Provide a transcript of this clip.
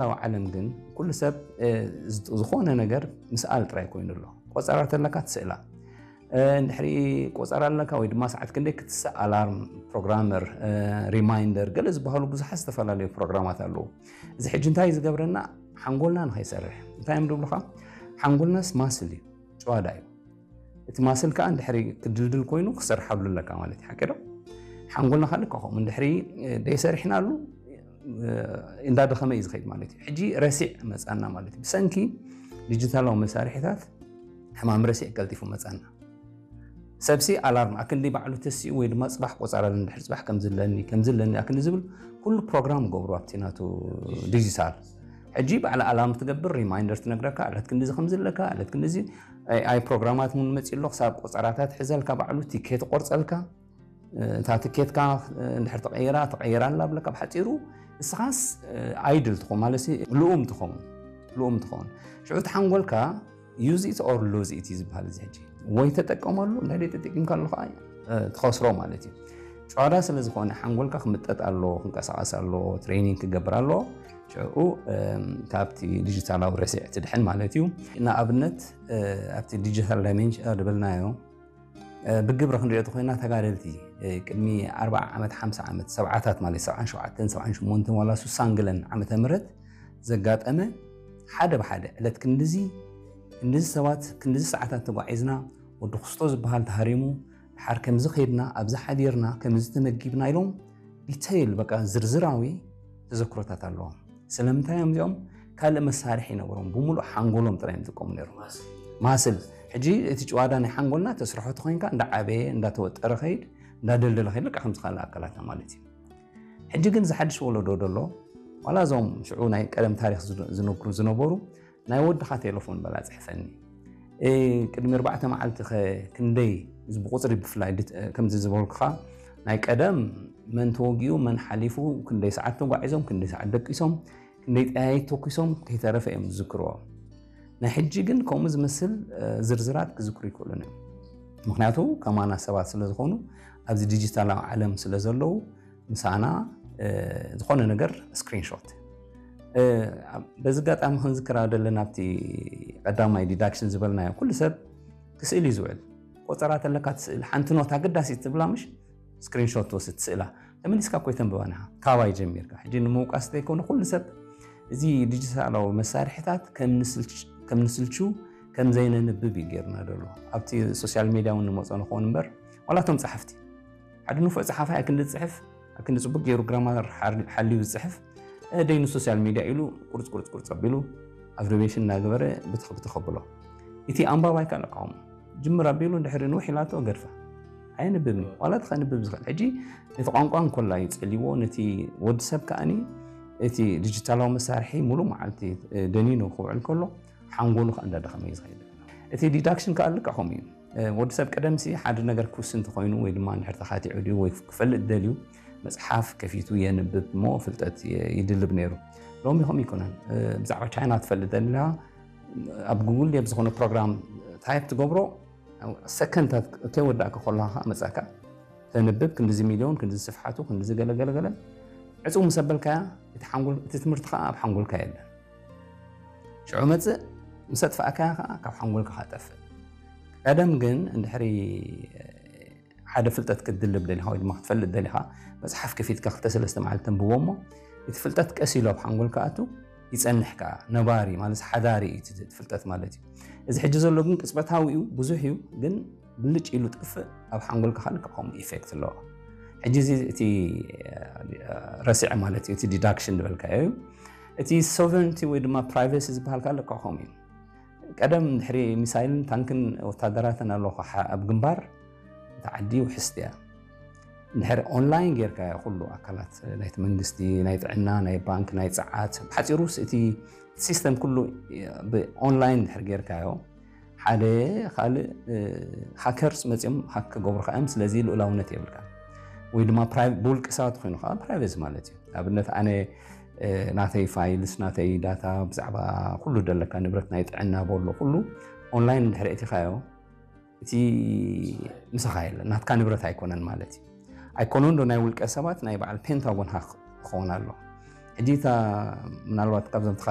ዲጂታላዊ ዓለም ግን ኩሉ ሰብ ዝኾነ ነገር ምስኣል ጥራይ ኮይኑ ኣሎ። ቆጸራ ተለካ ትስእላ፣ እንድሕሪ ቆጸራ ኣለካ ወይ ድማ ሰዓት ክንደይ ክትስእ፣ ኣላርም፣ ፕሮግራመር፣ ሪማይንደር፣ ገለ ዝበሃሉ ብዙሓት ዝተፈላለዩ ፕሮግራማት ኣለዉ። እዚ ሕጂ እንታይ ዝገብረና? ሓንጎልና ንኸይሰርሕ። እንታይ እዮም ዝብሉኻ? ሓንጎልናስ ማስል እዩ፣ ጭዋዳ እዩ። እቲ ማስል ከዓ እንድሕሪ ክድልድል ኮይኑ ክሰርሓሉ ኣለካ ማለት እዩ። ሓቂ ዶ? ሓንጎልና ካልእ ከምኡ እንድሕሪ ደይሰሪሕናሉ እንዳደኸመ እዩ ዝኸይድ ማለት እዩ። ሕጂ ረሲዕ መፃና ማለት እዩ። ብሰንኪ ዲጂታላዊ መሳርሒታት ሕማም ረሲዕ ቀልጢፉ መፃና። ሰብሲ ኣላርም ኣክንዲ ባዕሉ ተሲኡ ወይ ድማ ፅባሕ ቆፃራ እንድሕር ፅባሕ ከምዝለኒ ከምዝለኒ ኣክንዲ ዝብል ኩሉ ፕሮግራም ገብሩ ኣብቲ ናቱ ዲጂታል። ሕጂ ባዕላ ኣላርም ትገብር፣ ሪማይንደር ትነግረካ፣ ዕለት ክንዲዚ ከምዝለካ፣ ዕለት ክንዲዚ ኣይ ፕሮግራማት እውን መፂ ኣሎ። ክሳብ ቆፀራታት ሕዘልካ፣ ባዕሉ ቲኬት ቆርፀልካ። እታ ትኬትካ እንድሕር ተቐይራ ተቐይራ ኣላ ብለካ። ብሓፂሩ እስኻስ ኣይድል ትኸውን ማለት ልኡም ትኸውን፣ ልኡም ትኸውን። ሽዑ ተሓንጎልካ use it or lose it እዩ ዝበሃል። እዚ ሕጂ ወይ ተጠቀመሉ፣ እንታይ ደይ ተጠቂምካ ኣለኹ ትኸስሮ ማለት እዩ። ጨዋዳ ስለ ዝኾነ ሓንጎልካ ክምጠጥ ኣሎ፣ ክንቀሳቐስ ኣሎ፣ ትሬኒንግ ክገብር ኣሎ። ሽዑ ካብቲ ዲጂታላዊ ረሲዕ ትድሕን ማለት እዩ። ንኣብነት ኣብቲ ዲጂታል ዳይሜንሽን ዝበልናዮ ብግብሪ ክንሪኦ ተኮይና ተጋደልቲ ቅድሚ ኣርባዓ ዓመት፣ ሓምሳ ዓመት፣ ሰብዓታት ማለት ሰብዓን ሸውዓተን፣ ሰብዓን ሸሞንተን ዋላ ሱሳን ገለን ዓመተ ምህረት ዘጋጠመ ሓደ ብሓደ ዕለት ክንድዚ ክንድዚ ሰባት ክንድዚ ሰዓታት ተጓዒዝና፣ ወዲ ክስቶ ዝበሃል ተሃሪሙ፣ ድሓር ከምዚ ከይድና፣ ኣብዚ ሓዲርና፣ ከምዚ ተመጊብና ኢሎም ዲተይል በቃ ዝርዝራዊ ተዘክሮታት ኣለዎም። ስለምንታይ እዮም እዚኦም ካልእ መሳርሒ ይነበሮም፣ ብምሉእ ሓንጎሎም ጥራይ እዮም ዝጥቀሙ ነይሮም። ማስል ሕጂ እቲ ጭዋዳ ናይ ሓንጎልና ተስርሖ ተኮይንካ እንዳዓበየ እንዳተወጠረ ከይድ እንዳደልደለ ከይድ ልቃ ከምዚ ካልእ ኣካላትና ማለት እዩ። ሕጂ ግን ዝሓድሽ ወለዶ ደሎ ዋላ እዞም ሽዑ ናይ ቀደም ታሪክ ዝነግሩ ዝነበሩ ናይ ወድኻ ቴሌፎን በላ ጽሕፈኒ። ቅድሚ ኣርባዕተ መዓልቲ ከ ክንደይ ብቁፅሪ ብፍላይ ከምዚ ዝበልኩኻ ናይ ቀደም መን ተወጊኡ መን ሓሊፉ ክንደይ ሰዓት ተጓዒዞም ክንደይ ሰዓት ደቂሶም ክንደይ ጠያይት ተኩሶም ከይተረፈ እዮም ዝዝክርዎ። ናይ ሕጂ ግን ከምኡ ዝመስል ዝርዝራት ክዝክሩ ይክእሉን እዮም። ምክንያቱ ከማና ሰባት ስለ ዝኾኑ ኣብዚ ዲጂታላዊ ዓለም ስለ ዘለዉ ምሳና ዝኾነ ነገር ስክሪንሾት። በዚ ኣጋጣሚ ክንዝክራ ዘለና ኣብቲ ቀዳማይ ዲዳክሽን ዝበልናዮ ኩሉ ሰብ ክስእል እዩ ዝውዕል። ቆፀራ ተለካ ትስእል ሓንቲ ኖት ኣገዳሲት ትብላ ምሽ ስክሪንሾት ትወስድ ትስእላ ተመሊስካ እኮ ኣይተንብባን ኢኻ። ካባይ ጀሚርካ ሕጂ ንምውቃስ ዘይኮነ ኩሉ ሰብ እዚ ዲጂታላዊ መሳርሒታት ከም ንስልቹ ከም ዘይነንብብ እዩ ጌርና ዘሎ። ኣብቲ ሶሻል ሚድያ እውን ንመፆ ንኸውን እምበር ዋላ እቶም ፀሓፍቲ ሓደ ንፉዕ ፀሓፋይ ኣክንዲ ዝፅሕፍ ኣክንዲ ፅቡቅ ገይሩ ግራማር ሓልዩ ዝፅሕፍ ደይኑ ሶሻል ሚድያ ኢሉ ቁርፅ ቁርፅ ቁርፅ ኣቢሉ ኣብሪቤሽን እናገበረ ብትኽ ብትኽ ኣብሎ። እቲ ኣንባባይ ካልእ ቃውሞ ጅምር ኣቢሉ እንድሕሪ ንውሕ ኢላቶ ገድፋ ኣየንብብን እዩ። ዋላ እቲ ከንብብ ዝኽእል ሕጂ ነቲ ቋንቋ እንኮላ እዩ ፀልይዎ ነቲ ወዲ ሰብ ከኣኒ እቲ ዲጂታላዊ መሳርሒ ሙሉእ መዓልቲ ደኒኑ ክውዕል ከሎ ሓንጎሉ ከዓ እንዳደኸመ እዩ ዝኸይድ። እቲ ዲዳክሽን ከዓ ልክዕ ከምኡ እዩ። ወዲ ሰብ ቀደምሲ ሓደ ነገር ክውስን እንተኮይኑ ወይ ድማ እንድሕር ተኻቲዑ ድዩ ወይ ክፈልጥ ደልዩ መፅሓፍ ከፊቱ የንብብ እሞ ፍልጠት ይድልብ ነይሩ። ሎሚ ከምኡ ይኮነን። ብዛዕባ ቻይና ትፈልጥ ደሊኻ ኣብ ጉግል ድየ ብዝኾነ ፕሮግራም ታይፕ ትገብሮ ሰከንድታት ከይወዳእካ ከለኻ ከዓ መፃካ ተንብብ ክንዲዚ ሚልዮን ክንዲዚ ስፍሓቱ ክንዲዚ ገለገለገለ ዕፅው ምስ ኣበልካያ እቲ ሓንጎል እቲ ትምህርቲ ከዓ ኣብ ሓንጎልካ የለን። ሽዑ መፅእ ምስ ኣጥፋእካያ ከዓ ካብ ሓንጎልካ ከዓ ጠፍእ። ቀደም ግን እንድሕሪ ሓደ ፍልጠት ክትድልብ ደሊኻ ወይ ድማ ክትፈልጥ ደሊኻ መፅሓፍ ከፊትካ ክልተ ሰለስተ መዓልቲ ተንብቦ እሞ እቲ ፍልጠት ቀስ ኢሉ ኣብ ሓንጎልካ ኣቱ ይፀንሕ ከዓ ነባሪ ማለት ሓዳሪ እዩ እቲ ፍልጠት ማለት እዩ። እዚ ሕጂ ዘሎ ግን ቅፅበታዊ እዩ ብዙሕ እዩ ግን ብልጭ ኢሉ ጥፍእ ኣብ ሓንጎልካ ከዓ ልክዕ ከምኡ ኢፌክት ኣለዎ። ሕጂ እዚ እቲ ረሲዕ ማለት እዩ እቲ ዲዳክሽን ዝበልካዮ እዩ። እቲ ሶቨረንቲ ወይ ድማ ፕራይቬሲ ዝበሃል ከዓ ልክዕ ከምኡ እዩ። ቀደም ድሕሪ ሚሳይልን ታንክን ወታደራትን ኣለኹ ኣብ ግንባር እታ ዓዲ ውሕስቲ እያ። ድሕሪ ኦንላይን ጌርካዮ ኩሉ ኣካላት ናይቲ መንግስቲ ናይ ጥዕና ናይ ባንክ ናይ ፀዓት ብሓፂሩስ እቲ ሲስተም ኩሉ ብኦንላይን ድሕሪ ጌርካዮ ሓደ ካልእ ሃከርስ መፂኦም ሃክ ክገብሩካ እዮም። ስለዚ ልኡላውነት የብልካ ወይ ድማ ብውልቂ ሰባት ኮይኑ ከዓ ፕራይቬሲ ማለት እዩ። ኣብነት ኣነ ናተይ ፋይልስ ናተይ ዳታ ብዛዕባ ኩሉ ደለካ ንብረት ናይ ጥዕና በሎ ኩሉ ኦንላይን እንድሕር እቲኻዮ እቲ ምሳኻ የለን ናትካ ንብረት ኣይኮነን ማለት እዩ። ኣይኮነን ዶ ናይ ውልቀ ሰባት ናይ በዓል ፔንታጎን ሃክ ክኸውን ኣሎ። ሕጂ እታ ምናልባት ካብዞም